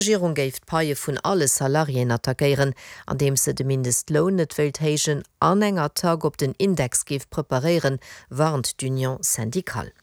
D'Regierung géif d'Paie vun alle Salariéen attackéieren, andeems se de Mindestloun net wéilt héijen an eng Attack op den Index géif preparéieren, warnt d'Union syndicale.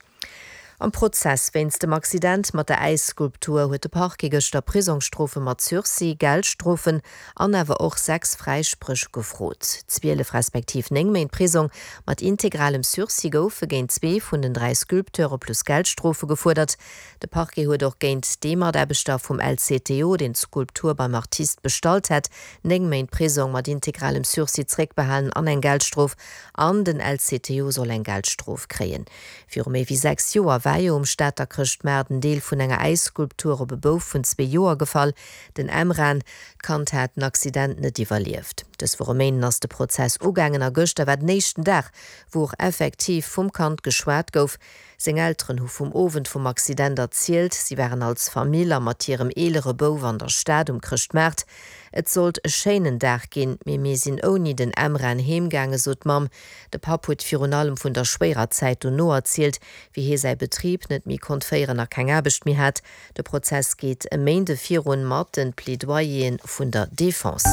Am Prozess wéinst dem Accident mat der Äisskulptur huet de Parquet gëschter Prisongsstrofe mat Sursis, Geldstrofen an awer och 6 Fräispréch gefrot. 12 respektiv 9 Méint Prisong mat integralem Sursis goufe géint zwee vun den 3 Sculpteure plus Geldstrofe gefuerdert. De Parquet huet och géint dee Mataarbechter vum LCTO, deen d'Skulptur beim Artist bestallt hätt, 9 Méint Prisong mat integralem Sursis zeréckbehalen an eng Geldstrof. An den LCTO soll eng Geldstrof kréien. Viru méi wéi 6 Joer war jo um Stater Chrëschtmaart en Deel vun enger Äisskulptur op e Bouf vun zwee Joer gefall, den Emran. D'Kand hat den Accident net iwwerlieft. Dës Woch e Méinden ass de Prozess ugaangen a gëschter war den éischten Dag, wou och effektiv vum Kand geschwat gouf. Seng Elteren hu vum Owend vum Accident erzielt. Si waren als Famill a mat hirem eelere Bouf an der Stad um Chrëschtmaart. Et sollt e schéinen Dag ginn, mee mir sinn ouni den Emran heemgaangen, sot d'Mamm. De Papp huet virun allem vun der schwéierer Zäit dono erzielt, wéi hie säi Betrib net méi konnt féieren a keng Aarbecht méi hat. De Prozess geet e Méinde virun mat den Plaidoyeren vun der Defense.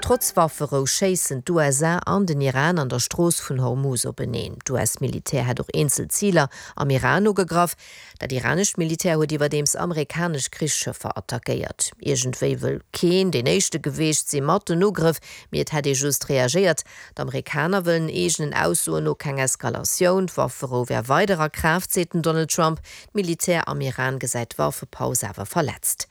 Trotz Wafferou schéissen d'USA an den Iran an der Strooss vun Hormuz openeen. D'US-Militär hätt och eenzel Ziler am Iran ugegraff. Dat iranescht Militär huet iwwerdeems amerikanesch Krichsschëffer attackéiert. Iergendwéi wëll keen deen éischte geweecht si mat den Ugrëff, mee et hätt ee just reagéiert. D'Amerikaner wëllen eegenen Aussoen no keng Eskalatioun. D'Wafferou wär weider a Kraaft, seet den Donald Trump. D'Militär am Iran gesäit d'Waffepaus awer verletzt.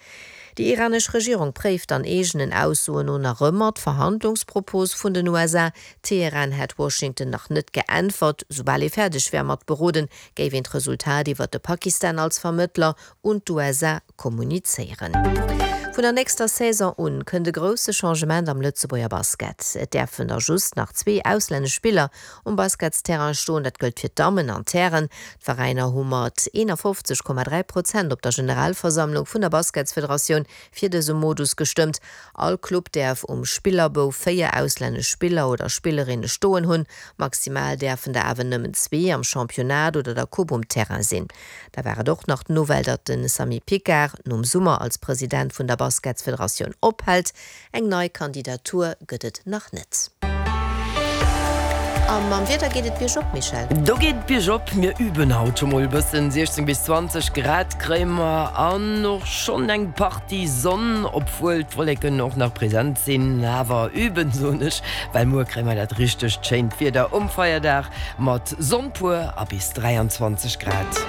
Déi iranesch Regierung préift an eegenen Aussoen no nach ëmmer d'Verhandlungspropos vun den USA. Teheran hätt Washington nach net geäntwert. Soubal ee fäerdeg wär mat beroden, géif een d'Resultat iwwer de Pakistan als Vermëttler un d'USA kommunizéieren. Vun der nächster Saison un kënnt e grousse Changement am Lëtzebuerger Basket. Et däerfen da just nach zwee auslännesch Spiller um Basketsterrain stoen. Dat gëllt fir d'Dammen an d'Hären. D'Veräiner hu mat 51,3 Prozent op der Generalversammlung vun der Basketsfederatioun fir dëse Modus gestëmmt. All Club däerf um Spillerbou 4 auslännesch Spiller oder Spillerinne stoen hunn. Maximal däerfen der awer nëmmen zwee am Championnat oder der Coupe um Terrain sinn. Da war et och nach d'Nouvelle, datt de Samy Picard nom Summer als President vun der Basketsfederatioun ophält. Eng nei Kandidatur gëtt et nach net. A mam Wieder geet et biergop, Michèle? Do geet et biergop. Mir üben haut scho mol e bëssen. 16 bis 20 Grad kréie mer an och schonn eng Partie Sonn, obwuel d'Wolleken och nach present sinn. Awer üben, soen ech, well muer kréie mer dat richtegt schéint Wieder um Feierdag mat Sonn pur a bis 23 Grad.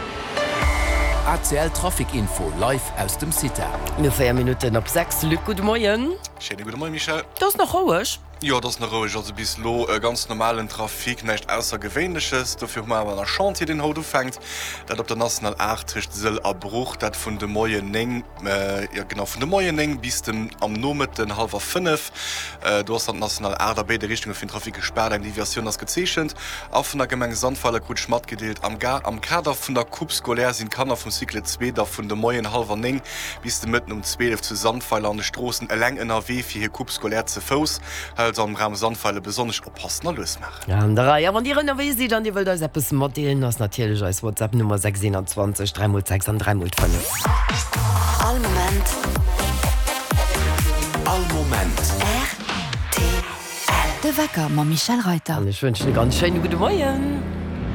ACL Trafic Info live aus dem CITA. No 4 Minutten op 6, Luc, gudde Moien. Schéine gudde Moien, Michèle. Et ass nach roueg. Jo, et ass nach roueg. Also bis elo e ganz normalen Trafic, näischt Aussergewéinleches. Dofir hu mer awer nach Chantier, deen haut ufänkt. Dat op der National 8 tëscht Sëll a Bruch. Dat vun de Moien 9, jo genau, vun de Moien 9 bis den am Nomëtten hallwer 5. Do ass dann d'National 8 a béide Richtunge fir den Trafic gespaart. Eng Deviatioun ass gezeechent. A vun der Gemeng Sandweiler krut ech matgedeelt, am am Kader vun der Coupe scolaire sinn d'Kanner vum Cycle 2 da vun de Moien hallwer 9 bis de Mëtten um 12 zu Sandweiler an de Stroossen eleng ënnerwee fir hir Coupe scolaire ze Fouss. Hei also am Raum Sandweiler besonnesch oppassen a lues maachen. An der Rei. A wann Dir ënnerwee sidd an Dir wëllt eis eppes matdeelen, ass natierlech eis WhatsApp Nummer 6 21 3 mol 6 an 3 mol 5. All Moment. All Moment. Rtl. De Wecker mam Michèle Reyter. An ech wënschen e ganz schéine gudde Moien.